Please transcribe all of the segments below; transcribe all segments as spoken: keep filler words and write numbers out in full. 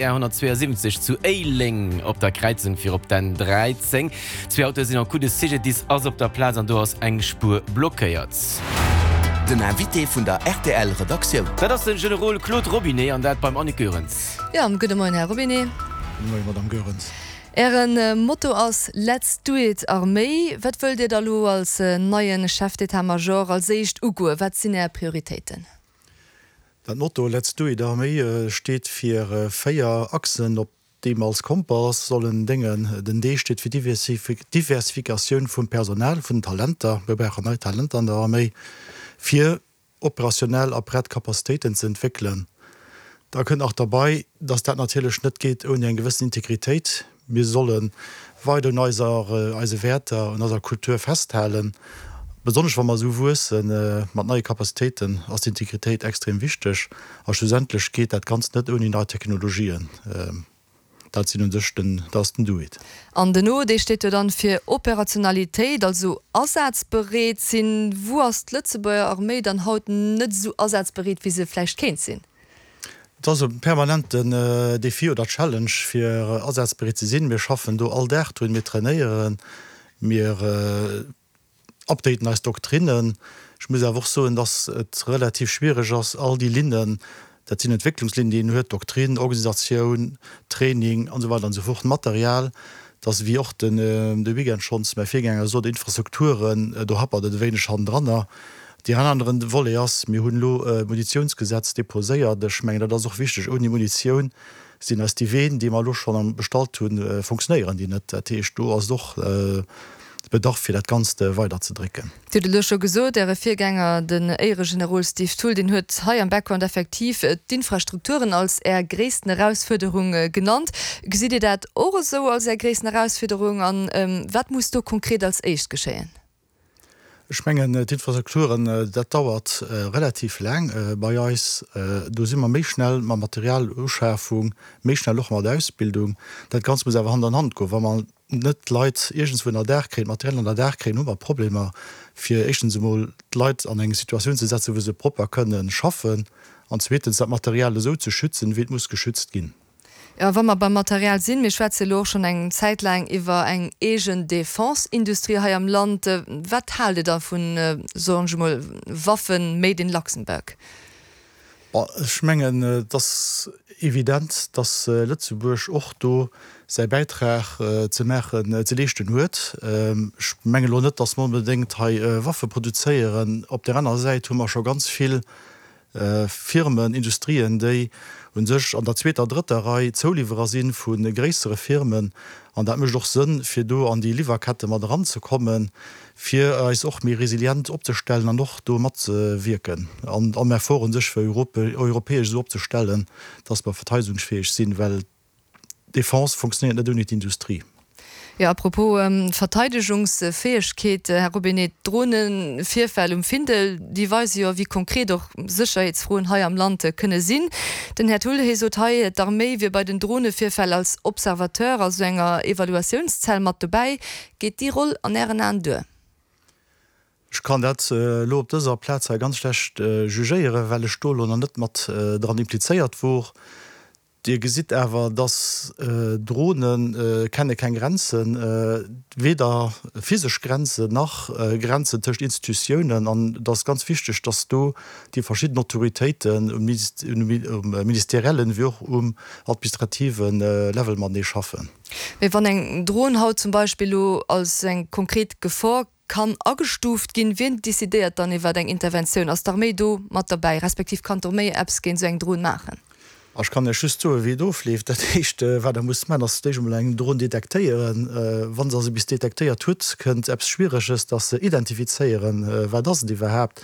R honnertzweeënsiwwenzeg zu Éileng op der Kräizung fir op d'N dräizéng. Zwee Autoe sinn en coup, de C G D I S ass op der Plaz an do ass eng Spuer blockéiert. Den Invité vun der R T L Redaktioun. Dat ass de Generol Claude Robinet an dat beim Annick Goerens. Jo, gudde Moien, Här Robinet. Gudde Moien, Madame Goerens. Äre Motto ass Let's do it Arméi. Wat wëllt Dir da lo als neie Chef d'état-major als éischt ugoen? Wat sinn Är Prioritéiten? Dat Motto Let's do it Arméi steet fir véier Achsen, op déi mer als Kompass sollen déngen. Den D steet fir Diversifikatioun vum Personal, vun den Talenter. Mir brauchen nei Talenter an der Arméi, fir operationell a prett Capacitéiten ze entwéckelen. Da kënnt nach derbäi, dass dat natierlech net geet ouni eng gewëssen Integritéit. Mir solle weider un eiser, eise Wäerter, un eiser Kultur festhalen. Besonnesch wa mer esou wuesse mat neie Capacitéiten, ass d'Integritéit extrem wichteg. A schlussendlech geet dat Ganzt net ouni nei Technologien. Dat sinn u sech den, dat ass den Do it. An den O, dee steet jo dann fir Operationalitéit, also asazbereet sinn. Wou ass d'Lëtzebuerger Arméi dann haut net esou asazbereet, wéi se vläicht kéint sinn? Et ass e permanenten Defi oder Challenge, fir asazbereet ze sinn. Mir schaffen do all Dag drun, mir trainéieren, mir updaten eis Doktrinnen. Ech muss awer och soen, dass et relativ schwiereg ass, all déi Linnen, dat sinn Entwécklungslinnen, déi een huet, Doktrin, Organisatioun, Training an esou weider an esou fort, Material, dass, wéi och den de Weekend schonns mäi Virgänger sot, Infrastrukturen, do happert et e wéineg hannendranner. Deen aneren Volet ass, mir hunn elo e Munitiounsgesetz deposéiert. Ech mengen, dat ass och wichteg. Ouni Munitioun sinn eis déi Ween, déi mer elo schonn bestallt hunn, funktionéieren déi net. Dat heescht, do ass et och Bedarf, fir dat Ganzt weiderzedrécken. Dir hutt et elo scho gesot, Äre Virgänger, den Éieregenerol Steve Thull, deen huet hei am Background effektiv d'Infrastrukturen als Är gréissten Erausfuerderung genannt. Gesitt Dir dat och esou als Är gréissten Erausfuerderung an wat muss do konkret als éischt geschéien? Ech mengen, d'Infrastrukturen, dat dauert relativ laang bei eis. Do si mer méi schnell mat Materialuschafung, méi schnell och mat Ausbildung. Dat Ganzt muss awer Hand an Hand goen. Wa mer net d'Leit iergendswou ënnerdaach kréien, d'Material ënnerdaach kréien, hu mer Problemer, fir éischtens emol d'Leit an eng Situatioun ze setzen, wou se propper kënnen schaffen, an zweetens dat Material esou ze schützen, wéi et muss geschützt ginn. Jo, wa mer beim Material sinn, mir schwätze elo och schonn eng Zäit laang iwwer eng eegen Defense-Industrie hei am Land. Wat haalt Dir da vun, soen ech emol, Waffen made in Luxembourg? Bon, ech mengen, et ass evident, dass Lëtzebuerg och do säi Bäitrag ze maachen, ze leeschten huet. Ech mengen elo net, dass mer onbedéngt hei Waffe produzéieren. Op där anerer Säit hu mer scho ganz vill Firmen, Industrien, déi u sech an der zweeter, drëtter Rei Zouliwwerer si vu gréissere Firmen. An dat mécht och Sënn, fir do an déi Liwwerkette mat eranzekommen, fir eis och méi resilient opzestellen an och do matzewierken an am Effort u sech fir europäesch esou opzestellen, dass mer verteidegungsfäeg sinn, well d'Defense funktionéiert net ouni d'Industrie. Jo, à propos Verteidegungsfäegkeet, Här Robinet, d'Dronevirfäll um Findel, déi weise jo, wéi konkret och Sécherheetsfroen hei am Land kënne sinn. Den Här Thull, hie sot hei, d'Arméi wier bei den Dronevirfäll als Observateur, also enger Evaluatiounszell mat dobäi. Geet déi Roll an Ären Aen duer? Ech kann dat elo op dëser Plaz hei ganz schlecht jugéieren, well ech do elo nach net mat dran implizéiert wor. Dir gesitt awer, dass Drone kenne keng Grenzen, weder physesch Grenzen nach Grenzen tëscht Institutiounen. An et ass ganz wichteg, dass do déi verschidden Autoritéiten um ministeriellen wéi och um administrative Level matenee schaffen. Mee wann eng Dron haut zum Beispill elo als eng konkret Gefor kann agestuuft ginn, wien decidéiert dann iwwer eng Interventioun? Ass d'Arméi do mat derbäi, respektiv kann d'Arméi eppes géint esou eng Dron maachen? Ech kann Iech just soen, wéi et ofleeft. Dat heescht, wat Der musst maachen, ass d'éischt emol eng Dron detektéieren. Wa se also bis detektéiert hutt, kënnt eppes Schwiereges, dass se identifizéieren, wat ass et iwwerhaapt,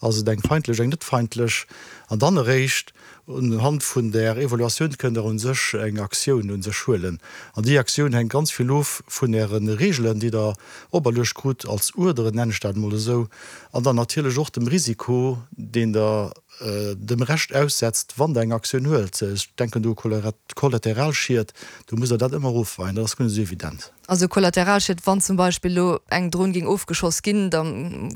ass et eng feindlech, eng net feindlech. An dann eréischt unhand vun där Evaluatioun kënnt Der u sech eng Aktioun u sech huelen. An déi Aktioun hänkt ganz vill of vun Äre Reegelen, déi Der operluecht krut als Uerderen, nennen ech dat emol esou, an dann natierlech och dem Risiko, deen Der dem Rescht aussetzt, wann Der eng Aktioun huelt. Ech denken do u Kollateralschied, do musst Der dat ëmmer ofweien, dat ass guer net esou evident. Also Kollateralschied, wann zum Beispill elo eng Dron géing ofgeschoss ginn, da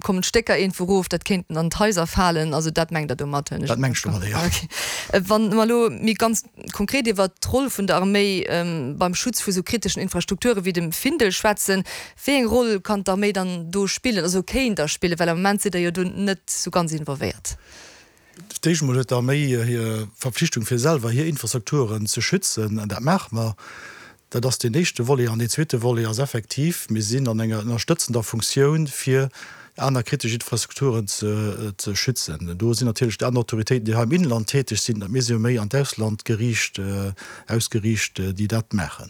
kommen d'Stécker iergendwou erof, dat kéinten an d'Haiser falen, also dat mengt Der domat, hunn ech Dat Dat mengen ech domadder, jo. Okay. Wa mer elo méi ganz konkret iwwert d'Roll vun der Arméi beim Schutz vu sou kriteschen Infrastrukture wéi dem Findel schwätzen, wéi eng Roll kann d'Arméi dann do spillen, also kéint da spillen, well am Moment sidd Der jo do net sou ganz involvéiert? Fir d'éischt emol huet d'Arméi hir Verpflichtung fir selwer hir Infrastrukturen ze schützen, an dat maache mer. Dat ass deen éischte Volet. An deen zweete Volet ass effektiv, mir sinn an enger ënnerstëtzender Funktioun fir aner kritesch Infrastrukturen ze schützen. Do sinn natierlech déi aner Autoritéiten, déi hei am Inland täteg sinn, mir si jo méi an d'Ausland geriicht, ausgeriicht, déi dat maachen.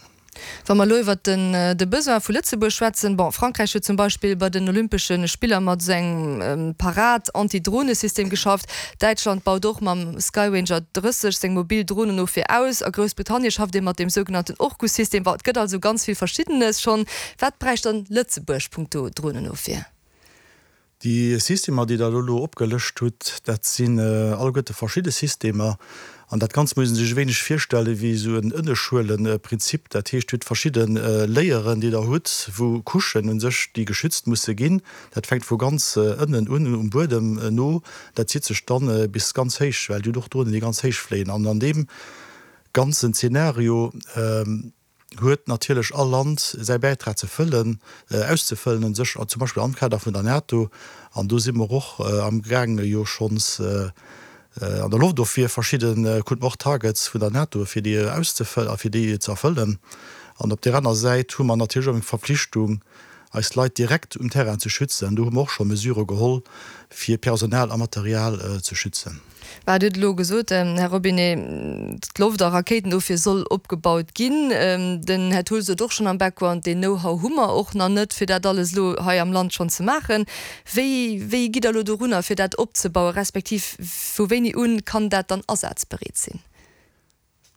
Wa mer elo iwwert de Besoin vu Lëtzebuerg schwätzen, bon, Frankräich huet zum Beispill bei den Olympesche Spiller mat esou engem Parad-Anti-Drohne-System geschafft, Däitschland baut och mam Skyranger drësseg seng mobil Dronenofwier aus a Groussbritannien schafft ee mat deem sougenannten Orcus-System. Bon, et gëtt also ganz vill Verschiddenes schonn. Wat bräicht dann Lëtzebuerg punkto Dronenofwier? Déi Systemer, déi Der elo opgelëscht hutt, dat sinn alleguerte verschidde Systemer. An dat Ganzt muss ee sech e wéineg virstelle wéi esou en Ënneschuelenprinzip. Dat heescht, Dir hutt verschidde Layeren, déi Der hutt, wou Couchen u sech, déi geschützt musse ginn. Dat fänkt vu ganz ënnen un, um Buedem no, dat zitt sech dann bis ganz héich, well Dir hutt och Dronen, déi ganz héich fléien. An an deem ganzen Zeenario huet natierlech all Land säi Bäitrag ze fëllen, auszefëllen un sech, zum Beispill am Kader vun der NATO. An do si mer och amgaange jo schonns an der Loftofwier verschidde, krute mer och Targets vun der NATO, fir déi auszefëllen a fir déi ze erfëllen. An op där aner Säit hu mer natierlech och eng Verpflichtung, eis Leit direkt um Terrain ze schützen. Do hu mer och scho Mesurë geholl, fir Personal a Material ze schützen. Mä Dir hutt elo gesot, Här Robinet, d'Loft a Rakéitenofwier soll opgebaut ginn. Den Här Thull sot och schonn am Background, deen Know-how hu mer och nach net, fir dat alles elo hei am Land schonn ze maachen. Wéi, wéi gitt Der elo dorunner, fir dat opzebauen, respektiv vu wéini un kann dat dann asazbereet sinn?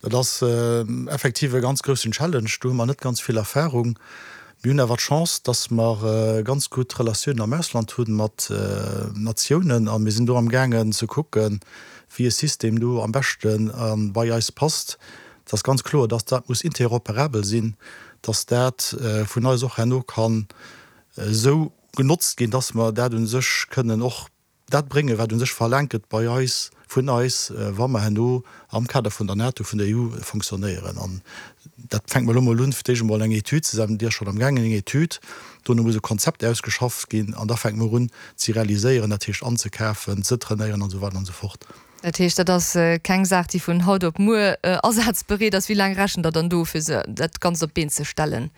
Dat ass effektiv e ganz groussen Challenge. Do hu mer net ganz vill Erfahrung. Mir hunn awer d'Chance, dass mer ganz gutt Relatiounen am Ausland hu mat Natiounen a mir sinn do amgaangen ze kucken, wéi e System do am beschte bei eis passt. Et ass ganz kloer, dass dat muss interoperabel sinn, dass dat vun eis och herno kann esou genotzt ginn, dass mer dat u sech kënnen och dat bréngen, wat u sech verlaangt gëtt bei eis, vun eis, wa mer herno am Kader vun der NATO, vun der E U fonctionnéieren. An dat fänkt mer elo emol un, fir d'éischt emol eng Etüd ze setzen, déi ass schonn amgaangen, eng Etüd, dono muss e Konzept ausgeschafft ginn an da fänke mer un ze realiséieren, dat heescht anzekafen, ze trainéieren an esou weider an esou fort. Dat heescht, dat ass keng Saach, déi vun haut op muer asazbereet ass. Wéi laang rechent Der dann do, fir se dat Ganzt op d'Been ze stellen?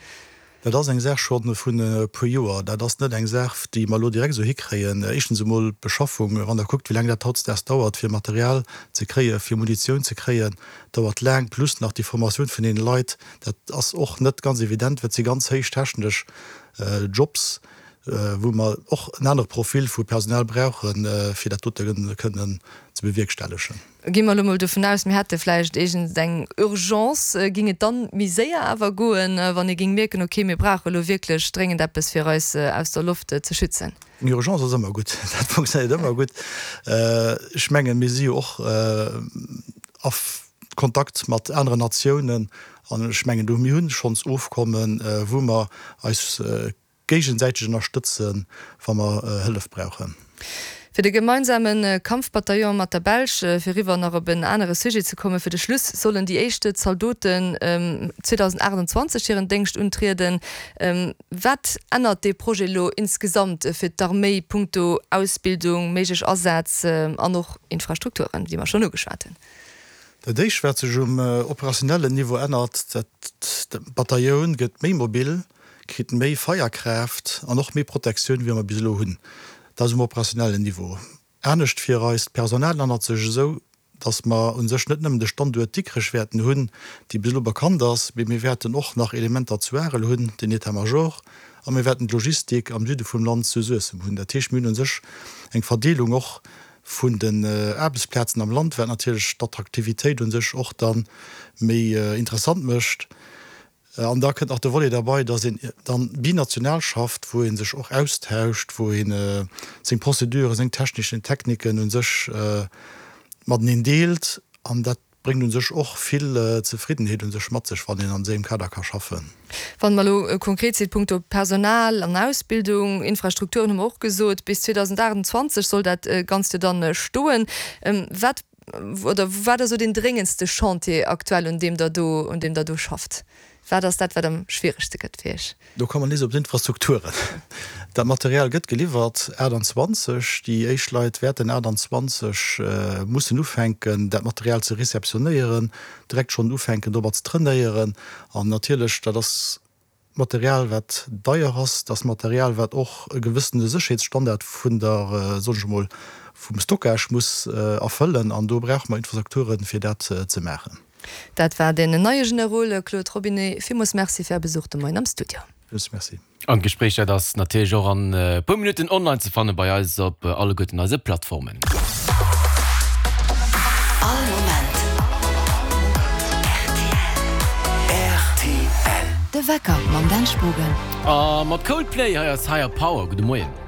Dat ass eng Saach scho vun e puer Joer. Dat ass net eng Saach, déi mer elo direkt esou hikréien. Éischtens emol d'Beschaffung, wann Der kuckt, wéi laang dat hautdesdaags dauert, fir Material ze kréien, fir Munitioun ze kréien, dauert laang, plus nach déi Formatioun vun deene Leit. Dat ass och net ganz evident, well et si ganz héich technesch Jobs, wou mer och en anere Profil vu Personal brauchen, fir dat dote kënnen ze bewierkstellegen. Gi mer elo mol dovun aus, mir hätte vläicht iergend eng Urgence, géing et dann méi séier awer goen, wann ee géing mierken, okay, mir brauche elo wierklech dréngend eppes, fir eis aus der Loft ze schützen? Eng Urgence ass ëmmer gutt, dat funktionéiert ëmmer gutt. Ech mengen, mir si jo och a Kontakt mat aneren Natiounen an ech mengen, do, mir hu schonns Ofkommen, wou mer eis géigesäiteg ënnerstëtzen, wa mer Hëllef brauchen. Fir de gemeinsame Kampfbataillon mat der Belsch, fir eriwwer nach op en anere Sujet ze kommen, fir de Schluss, sollen déi éischt Zaldoten zweedausendachtundzwanzeg hiren Déngscht untrieden. Wat ännert dee Projet elo insgesamt fir d'Arméi punkto Ausbildung, méiglech Asätz an och Infrastrukturen, déi mer schonn ugeschwat hunn? Dat éischt, wat sech um operationellen Niveau ännert, dat d'Batailloun gëtt méi mobil, kritt méi Feierkraaft an och méi Protektioun, wéi mer bis elo hunn. Dat ass um operationellen Niveau. Anescht fir eist Personal ännert sech esou, dass mer u sech net nëmmen de Standuert Dikrech wäerten hunn, dee bis elo bekannt ass, mee mir wäerten och nach Elementer zu Arel hunn, den État-major, a mir wäerten d'Logistik am Süde vum Land zu Suessem hunn. Dat heescht, mir hunn u sech eng Verdeelung och vun den Aarbechtsplazen am Land, wat natierlech d'Attraktivitéit u sech och da méi interessant mécht. An da kënnt nach de Volet derbei, dass een dann binational schafft, wou ee sech och austauscht, wou ee seng Prozeduren, seng techneschen Techniken u sech mateneen deelt. An dat bréngt un sech och vill Zefriddenheet un sech mat sech, wann een an esou engem Kader ka schaffen. Wann mer elo konkret sinn, punkto Personal an Ausbildung, Infrastrukturen hu mer och gesot, bis zweedausendachtundzwanzeg soll dat Ganzt jo dann stoen. Wat oder wat ass esou deen dréngendste Chantier aktuell, un deem Der do, un deem Der do schafft? Wat ass dat, wat am schwieregste gëtt fir Iech? Do komme mer nees op d'Infrastrukturen. Dat Material gëtt geliwwert achtundzwanzeg. Déi éischt Leit wäerten achtundzwanzeg mussen ufänken, dat Material ze receptionéieren, direkt schonn ufänken, domat ze trainéieren. An natierlech, dat ass Material, wat deier ass, dat ass Material, wat och e gewëssene Sécherheetsstandard vun der, soen ech emol, vum Stockage muss erfëllen. An do brauche mer Infrastrukturen, fir dat ze maachen. Dat war den neie Generol Claude Robinet. Villmools Merci fir Är Besuch de Moien am Studio. Villmools Merci. An d'Gespréich, dat ass natierlech och an e puer Minutten online ze fanne bei eis op alleguerten eise Plattformen. All Moment rtl. De Wecker mam Dan Spogen. A mat Coldplay, hei ass Higher Power. Gudde Moien.